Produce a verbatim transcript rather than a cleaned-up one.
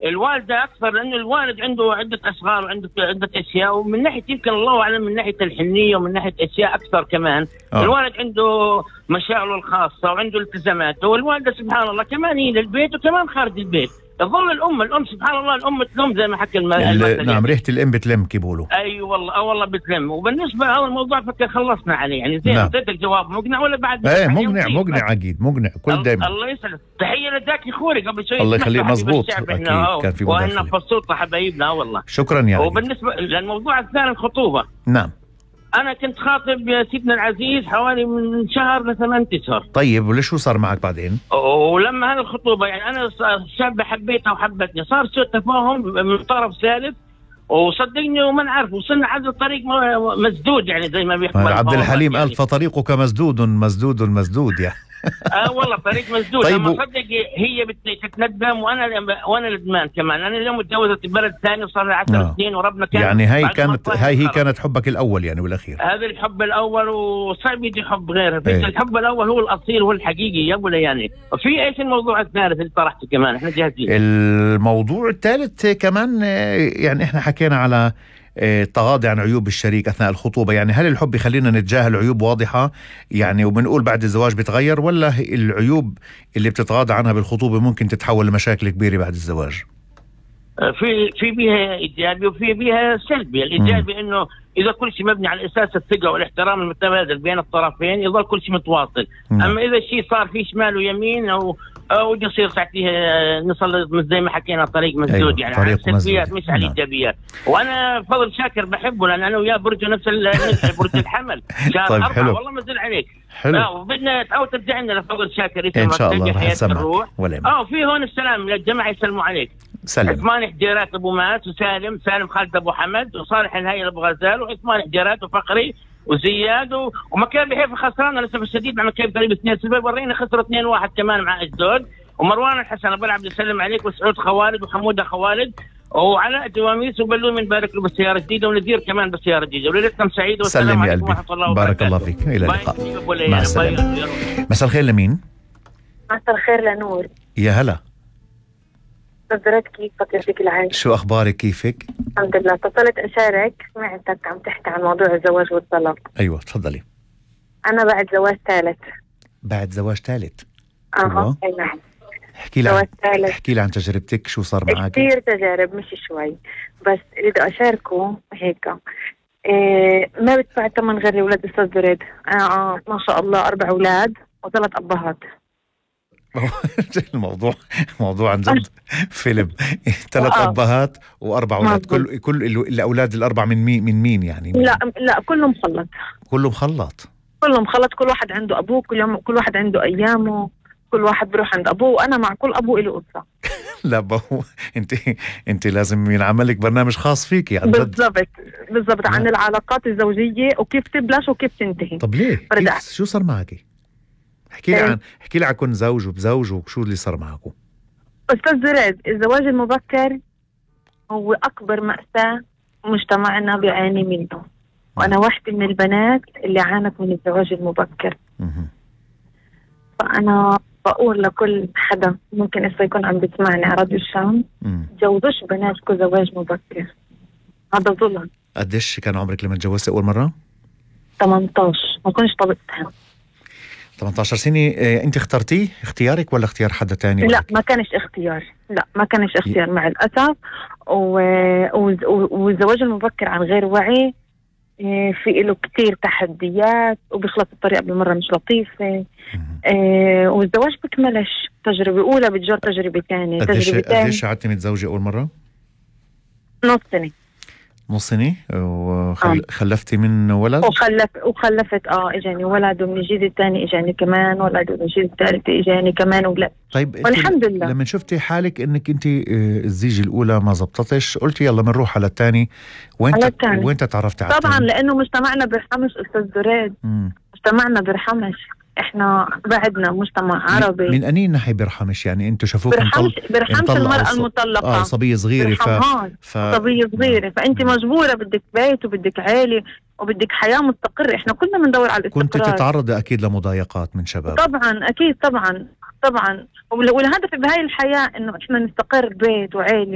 الوالدة أكثر، لأن الوالد عنده عدة أصغار وعنده عدة أشياء، ومن ناحية يمكن الله أعلم من ناحية الحنية ومن ناحية أشياء أكثر كمان. أوه. الوالد عنده مشاغله الخاصة وعنده التزاماته، والوالدة سبحان الله كمان هي للبيت وكمان خارج البيت. تظل الأم الأم سبحان الله الأم تلم زي ما حكى المثل. نعم، ريحة الأم بتلم كيبولوا. أي أيوة والله أه والله بتلم. وبالنسبة لهذا الموضوع فكر خلصنا عليه يعني. زين أعطيتك جواب مقنع ولا بعد؟ إيه مقنع مقنع أكيد مقنع كل دايما. الله يسعدك. تحية لذاك أخوي قبل شوي. الله يخليك. مزبوط أكيد كان في مداخلة. وإحنا مبسوطة حبايبنا والله. شكرا يا رجل. وبالنسبة للموضوع الثاني الخطوبة. نعم. أنا كنت خاطب يا سيدنا العزيز حوالي من شهر لثمان أشهر. طيب وليش شو صار معك بعدين؟ ولما هذه الخطوبة يعني أنا شاب حبيتها وحبتني، صار سوء تفاهم من طرف ثالث، وصدقني وما نعرف وصلنا على الطريق مسدود يعني زي ما بيحكوا عبد الحليم يعني. قال فطريقك مسدود مسدود مسدود يعني. اه والله طريق مسدود. طيب لما صدق هي بتتندم وانا وانا ندمان كمان. انا اليوم تجوزت ببلد ثاني وصار لي عشر سنين وربنا كان يعني هاي كانت هاي هي كانت حبك الاول يعني والاخير. هذا الحب الاول وصعب يجي حب غيره. ايه. الحب الاول هو الاصيل هو الحقيقي يا ابو لياني. وفي ايش الموضوع الثالث اللي طرحته كمان؟ احنا جاهزين. الموضوع الثالث كمان يعني احنا حكينا على التغاضي عن عيوب الشريك أثناء الخطوبة. يعني هل الحب يخلينا نتجاهل عيوب واضحة يعني وبنقول بعد الزواج بتغير، ولا العيوب اللي بتتغاضى عنها بالخطوبة ممكن تتحول لمشاكل كبيرة بعد الزواج؟ في في بيها إيجابي وفي بيها سلبي. الإيجابي إنه إذا كل شيء مبني على أساس الثقة والاحترام المتبادل بين الطرفين يظل كل شيء متواصل. مم. أما إذا الشيء صار فيه شمال ويمين أو أو يصير ساعتها نصل زي ما حكينا طريق مسدود. أيوة. يعني على السلبيات مش على الإيجابيات. وأنا فضل شاكر بحبه لأن أنا وياه برج نفس برج الحمل. طيب حلو. والله ما زل عليك. حلو. لا وبدنا تعود ترجع لنا لفضل شاكر إن شاء الله راح نسمعك. اه في هون السلام للجماعة يسلموا عليك. سلم. عثمان حجيرات ابو مات وسالم سالم خالد ابو حمد وصالح الهيل ابو غزال وعثمان حجيرات وفقري وزياد و... ومكان بحيف خسران للاسف الشديد مع مكان قريب اثنين سبب ورينا خسروا اثنين واحد كمان مع اجدود. ومروان الحسن ابو العبد يسلم عليك وسعود خوالد وحموده خوالد وعلاء جواميس وبلوم من بارك له بالسياره جديده ونذير كمان بالسياره جديده. وليلتكم سعيده والسلام عليكم ورحمه الله وبركاته. بارك الله فيك. الى اللقاء. مع السلامه. مساء الخير لمين؟ مساء الخير لنور. يا هلا. نظرت كيفك يعطيك العافية. شو أخبارك كيفك؟ الحمد لله. اتصلت أشارك سمعتك عم تحكي عن موضوع الزواج والطلاق. أيوة تفضلي. أنا بعد زواج ثالث. بعد زواج ثالث؟ أها أي نعم. احكي لي عن احكي لي عن تجربتك شو صار معك؟ كثير تجارب مش شوي بس اللي بدي أشاركه هيك. إيه ما بدفع ثمن غير أولاد أستاذ دريد. آه ما شاء الله أربع أولاد وثلاث أبهات. الموضوع موضوع عن جد فيلم. ثلاث أبهات وأربع أولاد. كل كل الأولاد الأربع من مين من مين يعني؟ من لا لا كله مخلط. كله مخلط. كله مخلط. كل واحد عنده أبوه كل يوم كل واحد عنده أيامه. كل واحد بروح عند أبوه وأنا مع كل أبوه له قصة. لا بهو أنت أنت لازم ينعمل لك برنامج خاص فيك يعني. بالضبط بالضبط عن العلاقات الزوجية وكيف تبلش وكيف تنتهي. طب ليه؟ كيف شو صار معك؟ احكي لي عن احكي لي عن كون زوج وبزوج وشو اللي صار معكم. أستاذ زراد الزواج المبكر هو أكبر مأساة مجتمعنا بيعاني منه. وأنا واحدة من البنات اللي عانت من الزواج المبكر. مه. فأنا بقول لكل حدا ممكن إسا يكون عم بيسمعني على راديو الشام جوزوش بناتكم زواج مبكر. هذا ظلم. قديش كان عمرك لما تجوزتي أول مرة؟ ثمانية عشر. ما كنتش طلبتها. ثمانية عشر سنة. إيه انت اخترتيه اختيارك ولا اختيار حدا تاني؟ لا ما كانش اختيار. لا ما كانش اختيار مع الأسف. و... والزواج المبكر عن غير وعي في له كتير تحديات وبيخلص الطريقة بالمرة مش لطيفة. إيه والزواج بكملش تجربة أولى بتجر تجربة ثانية. تجربة ثانية. قديش قعدتي متزوجة أول مرة؟ نص سنة. نص سنة وخلفتي وخل... من ولد؟ وخلف وخلفت اه اجاني ولد ومن الجيل الثاني اجاني كمان ولد ومن الجيل الثالث اجاني كمان ولد. طيب والحمد لله. لما شفتي حالك انك انت الزيجة الاولى ما زبطتش قلتي يلا بنروح على الثاني. وين وين تعرفتي على طبعا التاني؟ لانه مجتمعنا بيرحمش استاذ دريد. مجتمعنا بيرحمش. احنا بعدنا مجتمع عربي. من أني ناحية بيرحمش يعني انتو شافوكم بيرحمش بيرحمش المرأة المطلقة. اه صبية صغيرة. ف... ف... صبية صغيرة فانت مجبورة بدك بيت وبدك عائلة وبدك حياة مستقرة. احنا كلنا بندور على الاستقرار. كنت تتعرضي اكيد لمضايقات من شباب. طبعا اكيد طبعا طبعا، والهدف بهاي الحياة انه احنا نستقر بيت وعيلة